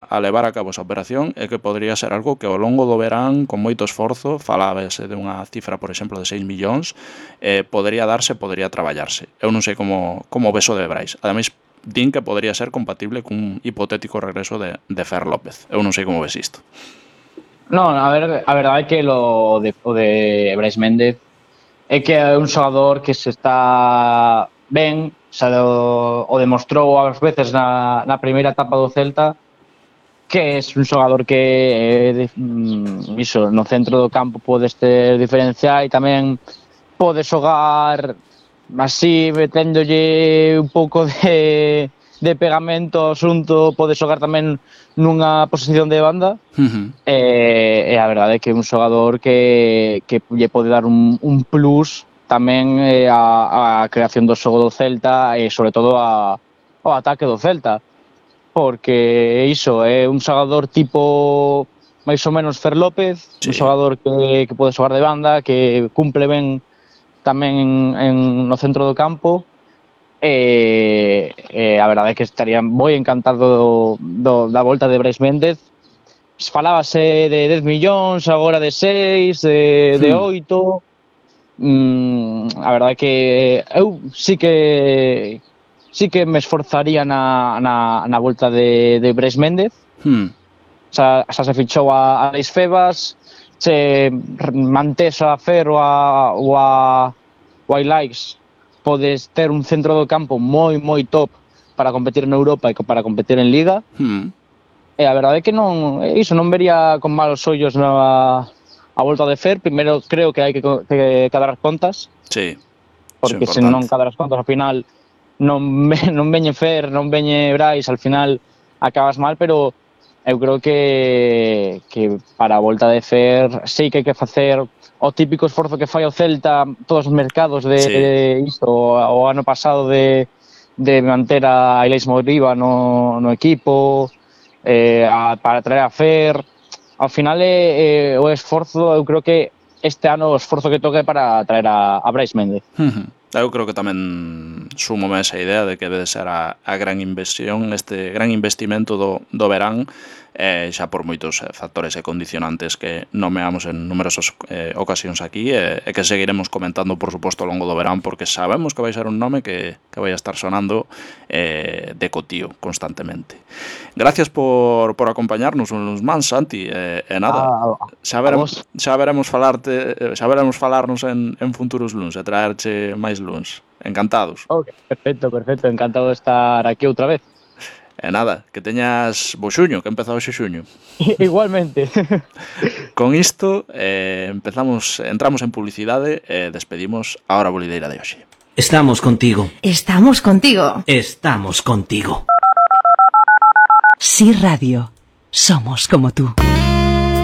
a levar a cabo esa operación e que podría ser algo que ao longo do verán, con moito esforzo, falábase de unha cifra, por exemplo, de 6 millóns, podría darse, podría traballarse. Eu non sei como ves o de Brais. Ademais, din que podría ser compatible cun hipotético regreso de Fer López. Eu non sei como ves isto. Non, a verdade é que o de Brais Méndez é que é un xogador que se está ben, xa o demostrou ás veces na primeira etapa do Celta, que é un xogador que iso, no centro do campo podes ter diferencial e tamén pode xogar así, meténdolle un pouco de pegamento ao asunto, pode xogar tamén nunha posición de banda. E a verdade é que é un xogador que lle pode dar un plus tamén a creación do xogo do Celta e sobre todo ao ataque do Celta, porque iso é un xogador tipo máis ou menos Fer López, un xogador que pode xogar de banda, que cumple ben tamén no centro do campo, e a verdade é que estaría moi encantado da volta de Brais Méndez. Falábase de 10 millóns, agora de 6, de 8. A verdade é que eu sí que me esforzaría na volta de Brais Méndez. Xa se fichou a Alex Febas, se mantés a Fer ou a Ilaix, podes ter un centro do campo moi top para competir en Europa e para competir en Liga. E a verdade é que non vería con malos ollos a volta de Fer. Primeiro creo que hai que cadrar as contas. Sí. Porque se non cadras as contas ao final non veñe Fer, non veñe Brais, al final acabas mal, pero eu creo que para a volta de Fer sí que hai que facer o típico esforzo que fai o Celta todos os mercados de isto, o ano pasado de manter a Ilaix Moriba no equipo, para traer a Fer. Ao final o esforzo, eu creo que este ano o esforzo que toque para traer a Brais Méndez. Eu creo que tamén súmome esa idea de que debe ser a gran inversión, este gran investimento do verán, xa por moitos factores e condicionantes que nomeamos en numerosas ocasións aquí e que seguiremos comentando, por suposto, ao longo do verán, porque sabemos que vai ser un nome que vai a estar sonando de cotío constantemente. Gracias por acompañarnos uns mans, Santi, e nada, xa veremos falarnos en futuros luns e traerche máis luns. Encantados. Perfecto, encantado de estar aquí outra vez. E nada, que teñas bo xuño, que empezado xe xuño. Igualmente. Con isto entramos en publicidade e despedimos a Hora Bolideira de hoxe. Estamos contigo. Estamos contigo. Estamos contigo. Sí Radio. Somos como tú.